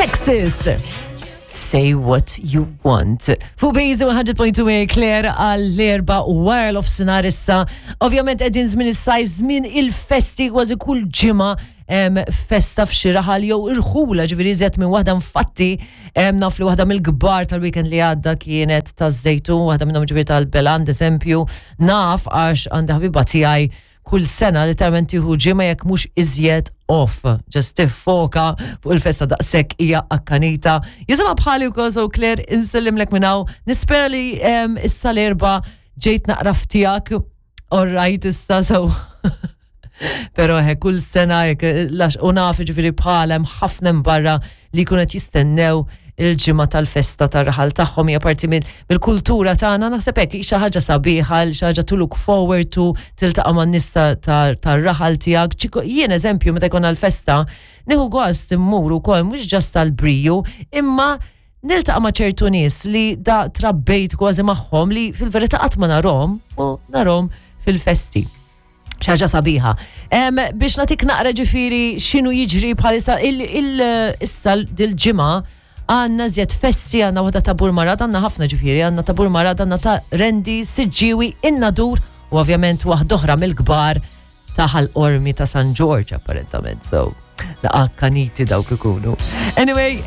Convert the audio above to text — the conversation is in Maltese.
Texas. Say what you want. Fuq Bejzi 100.2 Claire għall-erba u wara l-ofsinar issa. Ovvjament qegħdin żmien is-sajf, żmien il-festi kważi kull ġimgħa festa f'xi raħal jew irħula ġifieri iżjed minn waħda infatti naf li waħda mill-kbar tal-weekend li għadda kienet taż-Żejtun, waħda minnhom ġifieri tal-Beland eżempju, naf għax għandi ħabiba tiegħi kull sena literalment tieħu ġimgħa jekk mhux iżjed off. Just tiffoka fuq il-festa daqshekk hija akkanita. Jisimha bħali wkoll so Claire insellimlek minn hawn. Nispera li issa l-erba' ġejt naqra f'tiegħek. All right issa so. Pero he, kull sena jek, lax u naf ġifieri bħalem ħafna barra li jkunu qed jistennew il-ġimgħa tal-festa tar-raħal tagħhom hija parti mill-kultura tagħna naħseb hekk xi ħaġa sabiħa, xi ħaġa to look forward to, tiltaqa' man-nies tar-raħal tiegħek. Jien eżempju meta jkollna l-festa, nieħu gost immur ukoll mhux ġast tal-briju, imma niltaqa' ma' ċertu nies li da trabbejt kważi magħhom li fil-verità qatt ma narhom u narhom fil-festi. ħaġa sabiħa. Biex natik naqra ġifiri xinu jiġri bħalissa issa dil-ġimgħa għandna żjed festi, għandna waħda ta' Burmarad, għandna ħafna ġifiri, għandna ta' Burmarad, għandna ta' Rendi, Siġġiwi, Innadur u ovvjament waħda oħra mill-kbar ta' Ħal Qormi ta' San George apparentament. So, naqa kaniti dawk ikunu. Anyway,